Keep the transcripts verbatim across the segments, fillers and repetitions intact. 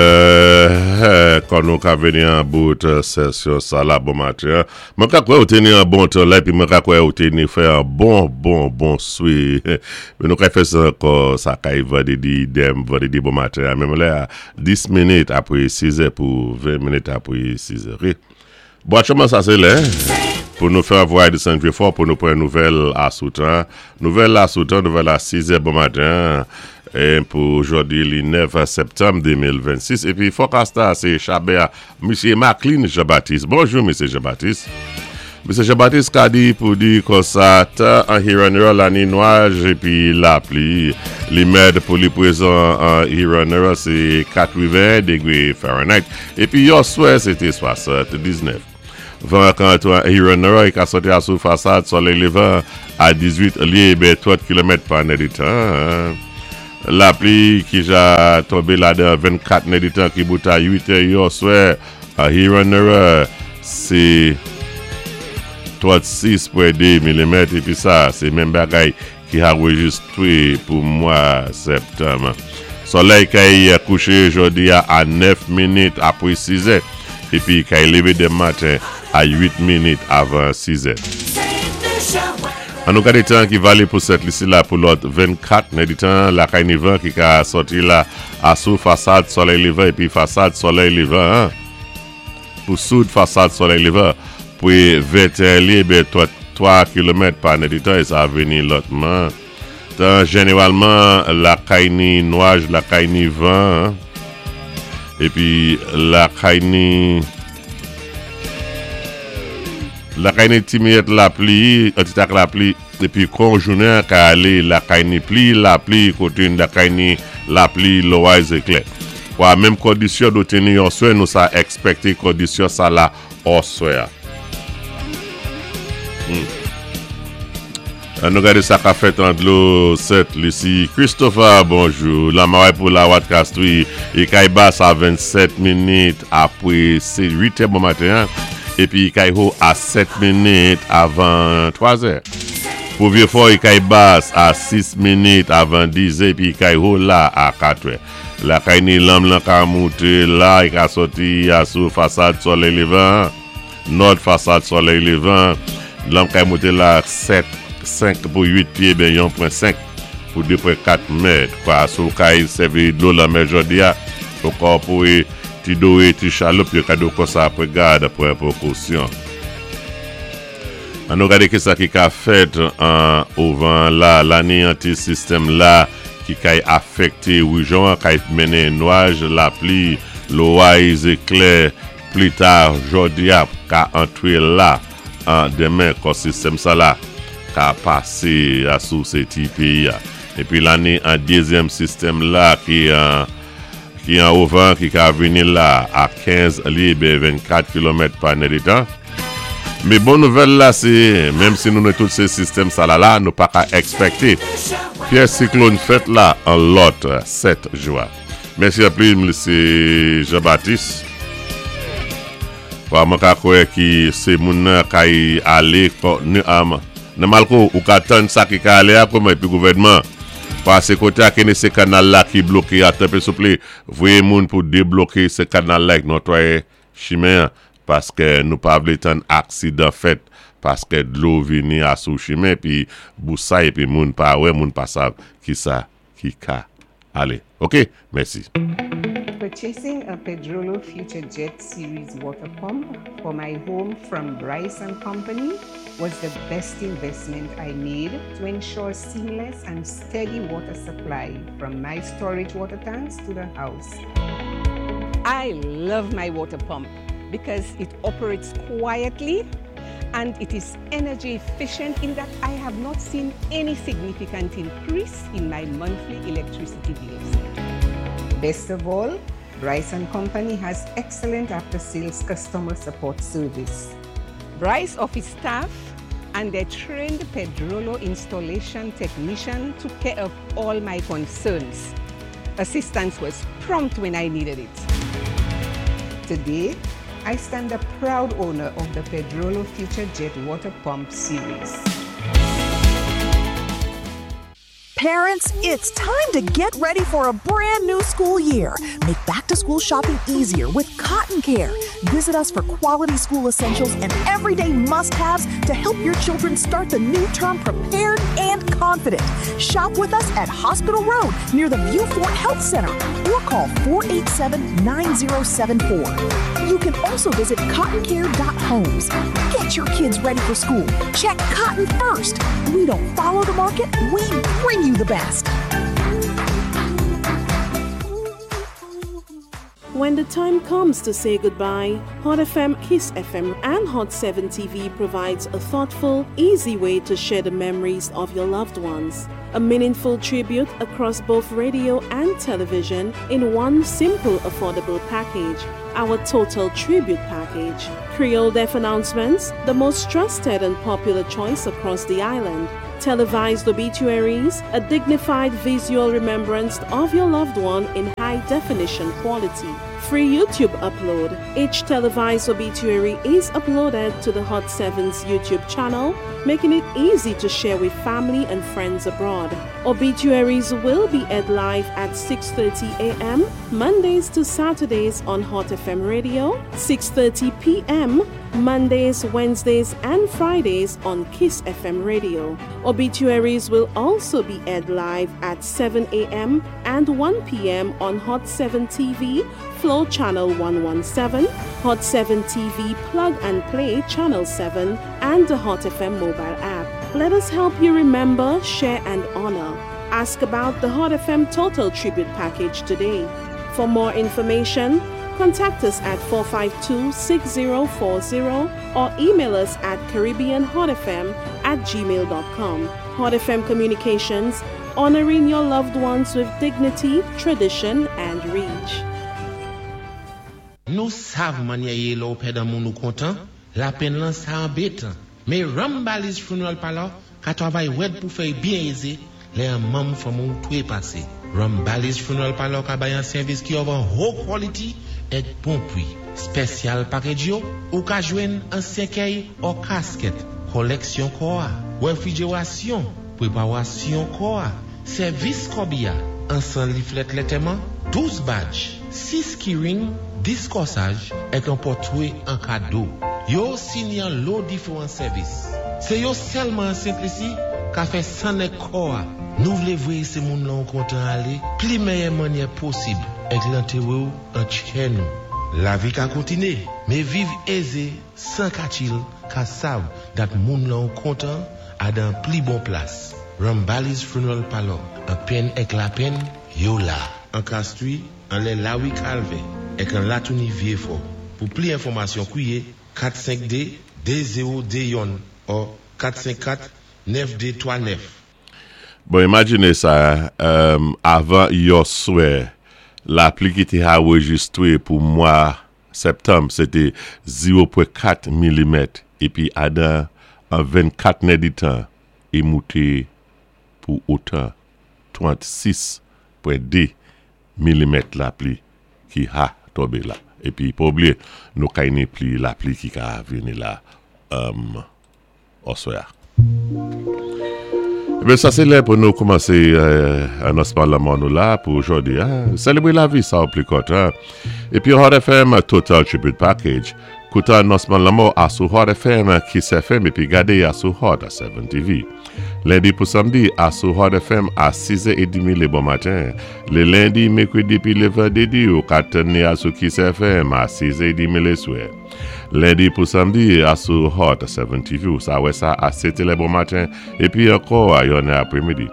Euh, kon nou ka veni an bout sesyon sa la bon maten. Mwen ka kwè ou te ni an bon tan la, epi mwen ka kwè ou te ni fè an bon, bon, bon swi. Men nou ka fè sa ankò sa kay vandredi dem, vandredi bon maten. Menm lè a dis minit apwé sis è pou ven minit apwé sis è. Bon, aktyèlman sa sé lè pou nou fè voy desann Vieux-Fort pou nou pran nouvèl asoutan. Nouvèl asoutan, nouvèl a sis è bon maten. É pou jòdi li nèf septanm de mil vennsis. Épi forecast sé Chabert, Misye Maclean Jean-Baptiste. Bonjou, Misye Jean-Baptiste. Misye Jean-Baptiste ka di pou di konsa tan an Huron la ni nwaj épi lapli. Limèd pou li pwézan an Huron sé katreven degwé Fahrenheit. Épi yèswè sé té swasanndiznèf. Van kan an Huron i ka sòti asou fasad solèy lévan a dizuit lyé ben trant kilomèt pa nèditan. Lapli ki ja tonbé ladan vennkat nèditan ki bout a uit è yèswè a Huron sé trannsis pwen de milimèt épi sa sé menm bagay ki anwéjistwé pou mwa septanm. Solèy kay kouché jòdi a a nèf minit apwé sis è épi kay lévé denmen maten a uit minit avan sis è. An nou gadé tan ki valé pou Sent Lisi la pou lòt vennkat nèditan. Lakay ni van ki ka sòti la asou fasad solèy lévan épi fasad solèy lévan pou soud fasad solèy lévan pou venteyen lyé ben twa kilomèt pa nèditan é sa vini lòtman. Tan jénéwalman lakay ni nwaj, lakay ni van épi lakay ni lakay ni ti miyèt lapli, an ti tak lapli, épi kon jounen ka alé lakay ni pli lapli koté lakay ni lapli loway zéklè. Kwa menm kondisyon do teni yèswè, nou sa èkspèkté kondisyon sa la oswè. Hmm. An nou gadé sa ka fèt an dlo Sent Lisi. Christopher, bonjou. Lamaway pou la wat kastwi. I kay bas a vennsèt minit apwé sé uit è bon maten. Épi kay ho a sèt minit avan twa è. Pou Vieux-Fort, i kay bas a sis minit avan diz è, épi kay ho la a kat è. Lakay ni lanm lan ka mouté la, i ka sòti a sou fasad solèy lévan. Nòd fasad solèy lévan. Lanm kay mouté la sèt, senk pou uit pyé, ben yon pwen senk pou de pwen kat mèt. Kwa sou kay sèvi dlo lanmè jòdi a, ankò pou ti doé, ti chaloup, yo ka do konsa apwé gad, apwé pwékosyon. An nou gadé ki sa ki ka fèt an ouvan la, la ni an ti sistèm la ki kay afèkté woujon, kay mennen nwaj, lapli, loway, zéklè, pli ta jòdi a ka antwé la an denmen kon sistèm sa la ka pasé a sou sé ti péyi a. Épi la ni an dézyèm sistèm la ki an ki an ouvan ki ka vini la a kenz lyé ben vennkat kilomèt pa nèditan. Mé bon nouvèl la sé, menm si nou ni tout sé sistèm sa la la, nou pa ka èkspèkté pyès siklòn fèt la an lòt sèt jou. Mèsi anpil, Misye Jean-Baptiste. Kwa mwen ka kwè ki sé moun nan kay alé nan Malko ou ka tann sa ki ka alé a kouman épi gouvèdman. Kwa sé koté a kéné sé kanal la ki bloké a tanpé souplé voyé moun pou débloké sé kanal la ek notwayé chimen paské nou pa vlé tann aksidan fèt paské dlo vini a sou chimen pi bousay épi moun pa wè, moun pa sav ki sa ki ka alé. Ok, mèsi. Purchasing a Pedrollo Future Jet Series water pump for my home from Bryce and Company was the best investment I made to ensure seamless and steady water supply from my storage water tanks to the house. I love my water pump because it operates quietly and it is energy efficient in that I have not seen any significant increase in my monthly electricity bills. Best of all, Bryce and Company has excellent after-sales customer support service. Bryce office staff and their trained Pedrollo installation technician took care of all my concerns. Assistance was prompt when I needed it. Today, I stand a proud owner of the Pedrollo Future Jet Water Pump Series. Parents, it's time to get ready for a brand new school year. Make back to school shopping easier with Cotton Care. Visit us for quality school essentials and everyday must haves to help your children start the new term prepared and confident. Shop with us at Hospital Road near the Vieux Fort Health Center or call four eight seven nine zero seven four. You can also visit cottoncare dot homes. Get your kids ready for school. Check cotton first. We don't follow the market, we bring you the best. When the time comes to say goodbye, Hot F M, Kiss F M, and Hot seven T V provides a thoughtful, easy way to share the memories of your loved ones. A meaningful tribute across both radio and television in one simple, affordable package. Our Total Tribute Package. Creole Death announcements, the most trusted and popular choice across the island. Televised obituaries, a dignified visual remembrance of your loved one in high definition quality. Free YouTube upload. Each televised obituary is uploaded to the Hot seven's YouTube channel, making it easy to share with family and friends abroad. Obituaries will be aired live at six thirty a m. Mondays to Saturdays on Hot F M Radio, six thirty p m. Mondays, Wednesdays, and Fridays on Kiss F M Radio. Obituaries will also be aired live at seven a m and one p m on Hot seven T V, Flow Channel one one seven, Hot seven T V Plug and Play Channel seven, and the Hot F M mobile app. Let us help you remember, share, and honor. Ask about the Hot F M Total Tribute Package today. For more information, contact us at four five two, six zero four zero or email us at caribbeanhotfm at gmail dot com. Hot F M Communications, honoring your loved ones with dignity, tradition, and reach. Nou sav mannyè yé lè ou pèd an moun ou kontan, lapenn lan sa anbétan. Mé Rambali's Funeral Parlor ka twavay wèd pou fè byen ézé lè an manm fanmi ou twé pasé. Rambali's Funeral Parlor ka bay an sèvis ki of an high quality èk bon pwi. Special package yo, ou ka jwenn an sèkèy ou casket, koleksyon kò a, refrijerasyon, pweparasyon kò a, sèvis kòbiya, an san leaflet lantèman, douz badge, sis keyring, dis kòsaj, èk an pòtwé an kado. Yo sini an lo diferan sèvis. Sé yo sèlman an Sent Lisi ka fè san èk kò a. Nou vlé voyé sé moun lan kontan alé, pli mèyè mannyè posib, èk lantéwé ou an tchè nou. Lavi ka kontiné, mé viv ézé, san ka chill, ka sav dat moun lan kontan a dan pli bon plas. Rambali's Funeral Parlor, an penn èk lapenn, yo la. An Castries, anlè Lawi Calvé, èk an Latouni Vieux-Fort. Pou pli enfòmasyon kwiyé kat senk de de zewo de youn ou kat senk kat nèf de twa nèf. Bon, imajiné sa, euh, avan yèswè, lapli ki té anrejistwé pou mwa septanm, sé té zewo pwen kat milimèt, épi adan an vennkat nèditan, i mouté pou otan trannsis pwen de milimèt lapli ki ha tonbé la. Épi, pa oubliyé, nou kay ni pli lapli ki ka vini la um, oswè a. Ében, sa sé lè pou nou koumansé euh, anonsman lanmò nou la pou jòdi. Hein? Sélébwé lavi sa ou pli kontan. Épi Hot F M Total Tribute Package. Kouté anonsman lanmò asou Hot F M, Kiss F M épi gadé asou Hot seven T V. Lendi pou samdi asou Hot F M a sis è trant lé bon maten. Lé lendi, mèkwédi pi lé vandédi ou ka tann asou Kiss F M a sis è trant lé swè. Lendi pou samdi asou Hot seven T V ou sa wè sa a sèt lè bon maten épi ankò a yonnè apwémidi.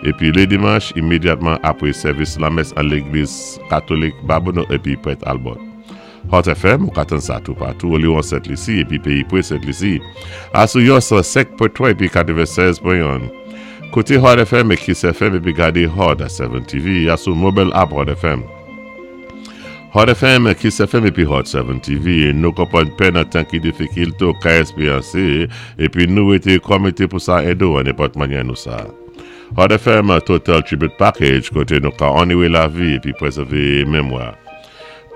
Épi lé dimanch imédyatman apwé sèvis lamès an légliz katolik Babonneau épi Prèt Albert. Hot F M, ou ka tann sa toupatou, oli an Sent Lisi, épi péyi pwé Sent Lisi. Asou yon san senk pwen twa épi katwennsèz pwen youn. Kouté Hot F M é Kiss F M épi gadé Hot seven T V asou mobile app Hot F M. Hot F M, Kiss F M épi Hot seven T V, nou konpwann penn an tan ki difikil tou ka èspéryansé, épi nou été komité pou sa édé ou an nenpòt mannyè nou sa. Hot F M Total Tribute Package, koté nou ka onowé lavi épi pwézèvé mémwa.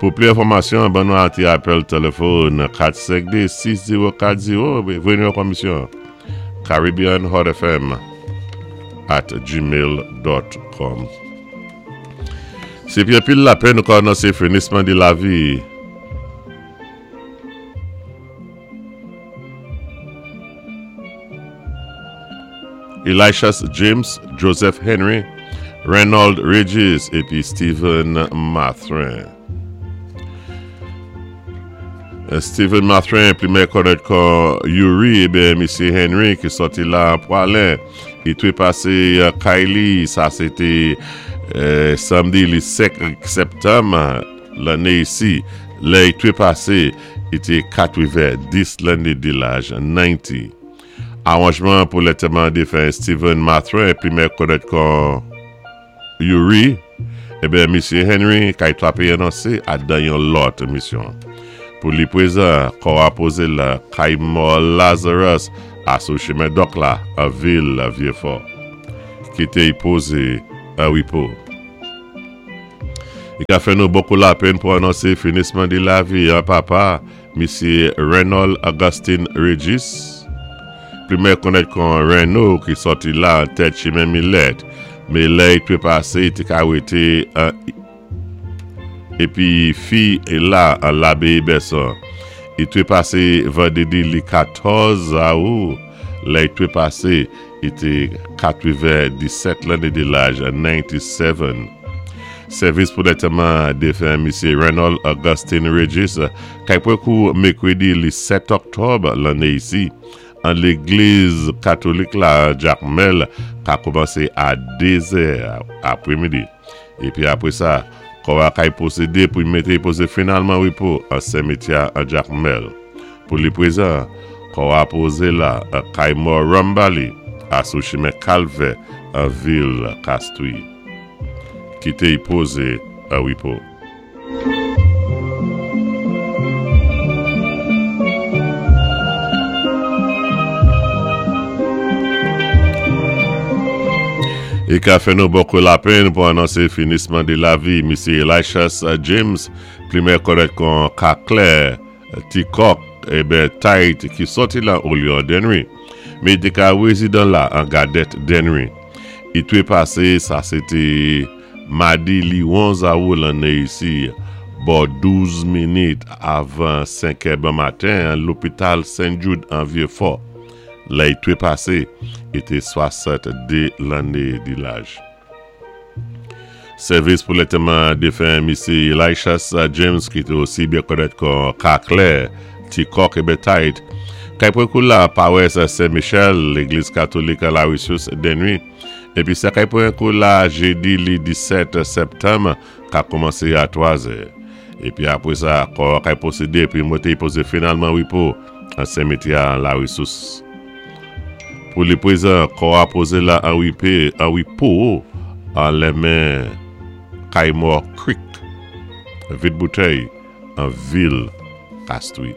Pou pli enfòmasyon, ban nou an ti apèl téléfòn kat senk de sis zewo kat zewo, vini an komisyon. Caribbean Hot F M at gmail dot com. Sé pi anpil lapenn nou ka anonsé finisman di lavi Elishas James, Joseph Henry, Reynold Regis épi Stephen Mathrin. Stephen Mathrin, pli mèyè konnèt kon Yuri, ébyen misyé Henry ki sòti la Pwalen, i twépasé kay li, sa sé té euh, samdi li senk septanm lanné isi, lè i twépasé, i té katwenn-dis lanné di laj, katwenn. Awanjman pou lantèman défen Stephen Mathrin, pli mèyè konnèt kon Yuri, ébyen misyé Henry kay twapé anonsé adan yon lòt misyon. Pou li pwézan, kò a pozé la kay mò Lazarus asou chimen Dòk la an vil Vyé-Fò. Kité i pozé an wipo. I ka fè nou bokou lapenn pou anonsé finisman di lavi an papa, misyé Reynold Augustine Regis, pli mèyè konnèt kon Reno ki sòti la an tèt chimen Milèt, mé lè i twépasé i té ka wété épi fi la an Labéyi Bèson. I twépasé vandédi li katòz awou, lè i twépasé i té katwenn-disèt lanné di laj, katwenndisét. Sèvis pou lantèman défen misyé Reynold Augustine Regis kay pwan kou mèkwédi li sèt oktòb lanné isi an légliz katolik la Jakmèl ka kòmansé a dé zè apwémidi. Épi apwé sa, kò a kay pwosédé pou mété pozé finalman wipo an simityè an Jakmèl. Pou li pwézan, kò a pozé la an kay mò Rambali asou chimen Kalvè an vil Kastwi. Kité i pozé an wipo. I ka fè nou bokou lapenn pou anonsé finisman di lavi misyé Elishas James, pli mèyè konnèt kon Kaklè, Tikok, ébyen Tait ki sòti la Olyon Dennery. Mé i té ka wézidan la an Gadèt Dennery. I twépasé, sa sé té madi li onz awou lanné isi, bò douz minit avan senk è bon maten an lopital Saint Jude an Vyé-Fò. Lè i twépasé, i té swasann-dé lanné di laj. Sèvis pou lantèman défen misyé Elishas James ki té osi byen konnèt kon Kaklè, Tikok ébyen Tait. Kay pwan kou la pawès Saint-Michel, légliz katolik la Ressource Dennery. Épi sa kay pwan kou la jédi li disèt septanm ka kòmansé a twa zè. Épi apwé sa, kò kay pwosédé pi monté pozé finalman wipo an simityè la Ressource. Pou li pwézan, kò a pozé la an wipé, an wipo an lémen kay mò Creek, Vide Bouteille, an vil Kastwi.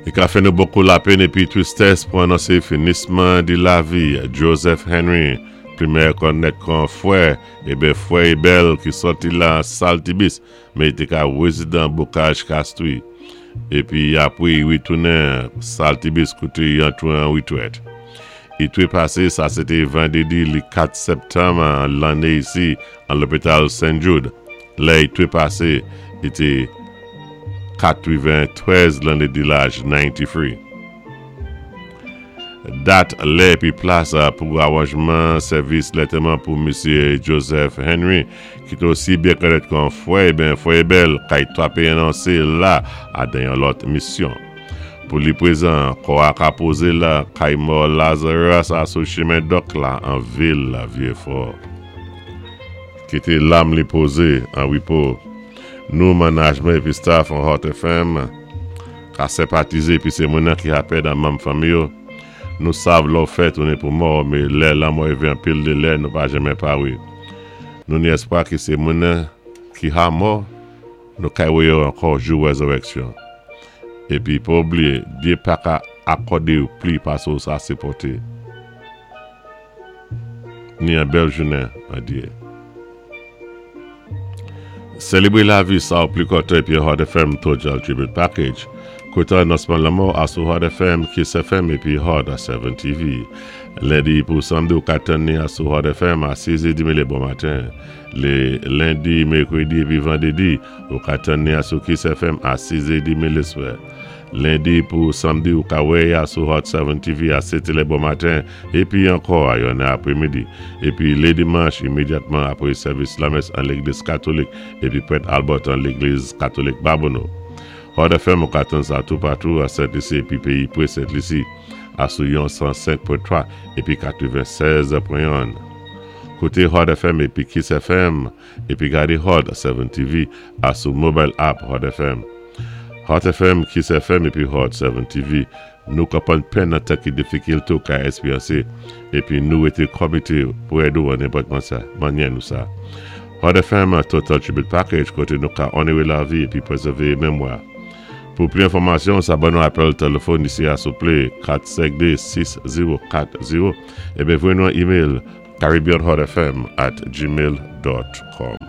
I ka fè nou bokou lapenn épi twistès pou anonsé finisman di lavi Joseph Henry, pli mèyè konnèt kon Fwè, ébyen Fwè Ebel ki sòti la Saltibis, mé i té ka wézidan Bokaj Kastwi. Épi apwé i witounen Saltibis kouté i antwé an witwèt. I twépasé, sa sé té vandédi li kat septanm lanné isi an lopital Saint Jude. Lè i twépasé, i té katwenn-trèz lanné di laj, katwenntrèz. Dat, lè épi plas pou awanjman sèvis lantèman pou misyé Joseph Henry, ki té osi byen konnèt kon Fwè, ben Fwè Ebel, kay twapé anonsé la adan yon lòt misyon. Pou li pwézan, kò a ka pozé la kay mò Lazarus asou chimen Dòk la an vil Vyé-Fò. Kité lam li pozé an wipo. Nou manajman épi staff an Hot F M ka senpatizé épi sé moun ki ka pèd an manm fanmi yo. Nou sav lò fè tounen pou mò, mé lè lanmò évé anpil de lè nou pa janmen pawé. Nou ni espwa ki sé moun ki ha mò, nou kay wè yo ankò jou wézirèksyon. Épi pa oubliyé, Dyé pa ka akòdé ou pli pasé ou sa sipòté. Ni an bèl jounen an Dyé. Sélébré lavi sa ou pli kontan épi Hot F M Total Tribute Package. Kouté Anonsman Lanmò asou Hot F M, Kiss F M épi Hot sèt T V. Lendi pou samdi, ou ka tann-ni asou Hot F M a sis è trant lé bon maten. Lé lendi, mèkwédi épi vandédi, ou ka tann-ni asou Kiss F M a sis è trant lé swè. Lendi pou samdi, ou ka wè asou Hot sèt T V a sèt lé bon maten épi ankò a yonnè apwé midi. Épi lé dimanch, imédyatman apwé sèvis lamès an légliz katolik épi Prèt Albert an légliz katolik Babonneau. Hot F M, ou ka tann sa toupatou a Sent-Lisi épi péyi pwé Sent-Lisi asou yon san senk pwen twa épi katwennsèz pwen en. Kouté Hot F M épi Kiss F M épi gadé Hot sèt T V asou mobile app Hot F M. Hot F M, Kiss F M épi Hot sèt T V, nou konpwann penn nan tan ki difikilte ou ka èksperyansé épi nou wété komité pou èd ou an nenpòt mannyè nou sa. Hot F M Total Tribute Package, koté nou ka onoré lavi épi pwézèvé mémwa. Pou plis enfòmasyon, sa ban nou apèl téléfòn isi a souplé kat senk de, sis zewo kat zewo ébyen voyé nou an email caribbeanhotfm at gmail dot com.